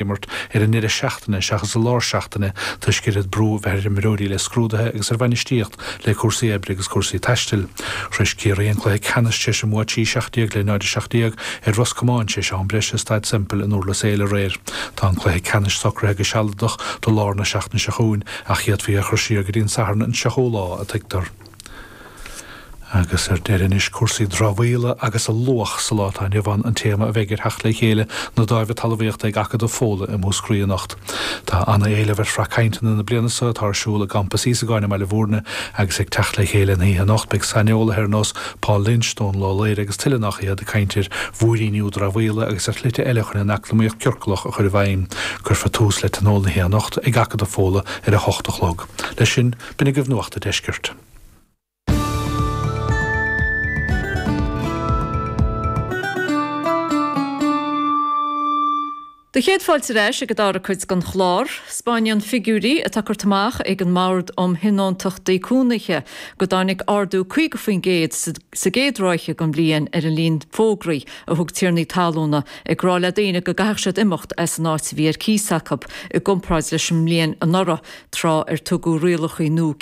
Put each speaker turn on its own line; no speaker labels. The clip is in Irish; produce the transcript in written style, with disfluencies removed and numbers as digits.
Imirt ar an ndeireadh seachtaine seachas i lár seachtaine toisc oiread brú a bheith ar imreoirí le scrúduithe agus ar bhainistíocht le cúrsaí oibre agus cúrsaí taistil. Shrois Ciarraí an cluiche ceannais tar éis a mbua 3-17 le 0-17 ar Ros Comáin tar éis am breise i Staid Semple in Durlas Éile aréir. Tá an cluiche ceannais socraithe go sealadach do lár na seachtaine seo chugainn ach d'fhéadfaí é a chur siar go dtí an Satharn an 3ú lá, a tuigtear. Agus ar deireadh anois, cúrsaí dramhaíola agus a luach sa lá atá inniu ann an téama a bheidh ar theacht le chéile na Dáimhe Talmhaíochta ag Acadamh Fódhla i Múscraí anocht. Tá ana-éileamh ar shraith cainteanna na bliana seo atá ar siúl i gCampas Íosagáin i mBaile Bhúirne agus ag teacht le chéile an oíche anocht beidh saineolaithe ar nós Paul Lynch, Dónal Ó Laoire agus tuilleadh nach iad ag caint ar mhúiríniú dramhaíola agus ar shlite eile chun an eacnamaíocht ciorclach a chur i bhfeidhm. Cuirfear tús le tionól na hoíche anocht ag Acadamh Fódhla ar a hocht a chlog. Leis sin, b'in agaibh Nuacht a' Deiscirt.
Do chéad fáilte ar ais ag an dara cuid den chlár. 'Spáineann figiúirí atá curtha amach ag an mBord um Thionóntachtaí Cónaithe go dtáinig ardú 50% sa gcéad ráithe den bhliain ar an líon fógraí a thug tiarnaí talúna ag rá le daoine go gcaithfeadh siad imeacht as an áit a bhí ar cíos acu i gcomparáid leis an mbliain anuraidh tráth ar tugadh rialacha nua.